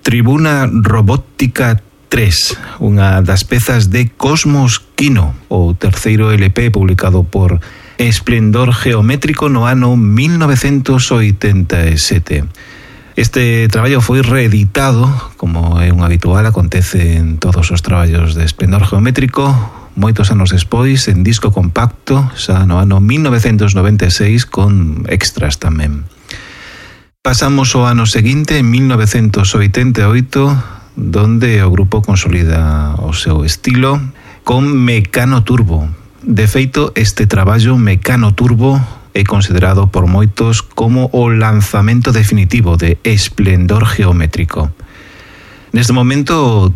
Tribuna Robótica 3, unha das pezas de Cosmos Kino, o terceiro LP publicado por Esplendor Geométrico no ano 1987. Este traballo foi reeditado, como é un habitual, acontece en todos os traballos de Esplendor Geométrico, moitos anos despois, en disco compacto, xa no ano 1996, con extras tamén. Pasamos ao ano seguinte, en 1988, donde o grupo consolida o seu estilo con Mecano Turbo. De feito, este traballo Mecano Turbo é considerado por moitos como o lanzamento definitivo de Esplendor Geométrico. Neste momento, o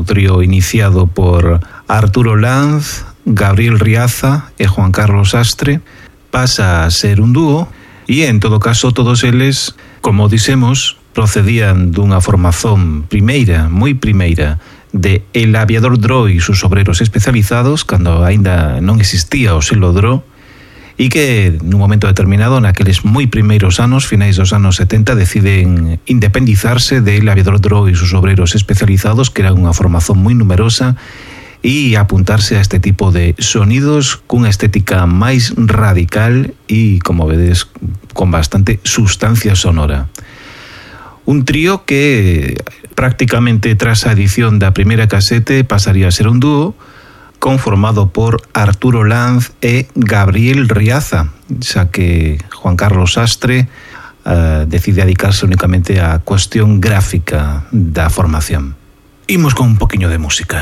trío iniciado por Arturo Lanz, Gabriel Riaza e Juan Carlos Sastre, pasa a ser un dúo e, en todo caso, todos eles, como dixemos, procedían dunha formación moi primeira, de El Aviador Dro e sus obreros especializados, cando aínda non existía o selo Dro, e que nun momento determinado, naqueles moi primeiros anos, finais dos anos 70, deciden independizarse de El Aviador Dro e sus obreros especializados, que era unha formación moi numerosa, e apuntarse a este tipo de sonidos cunha estética máis radical e, como vedes, con bastante sustancia sonora. Un trío que prácticamente tras a edición da primeira casete pasaría a ser un dúo conformado por Arturo Lanz e Gabriel Riaza, xa que Juan Carlos Sastre decide dedicarse únicamente á cuestión gráfica da formación. Imos con un poquinho de música.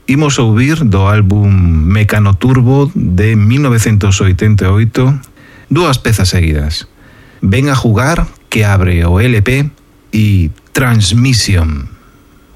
Imos ouvir do álbum Mecano Turbo de 1988 dúas pezas seguidas. Ven a jugar, que abre o LP, y Transmission.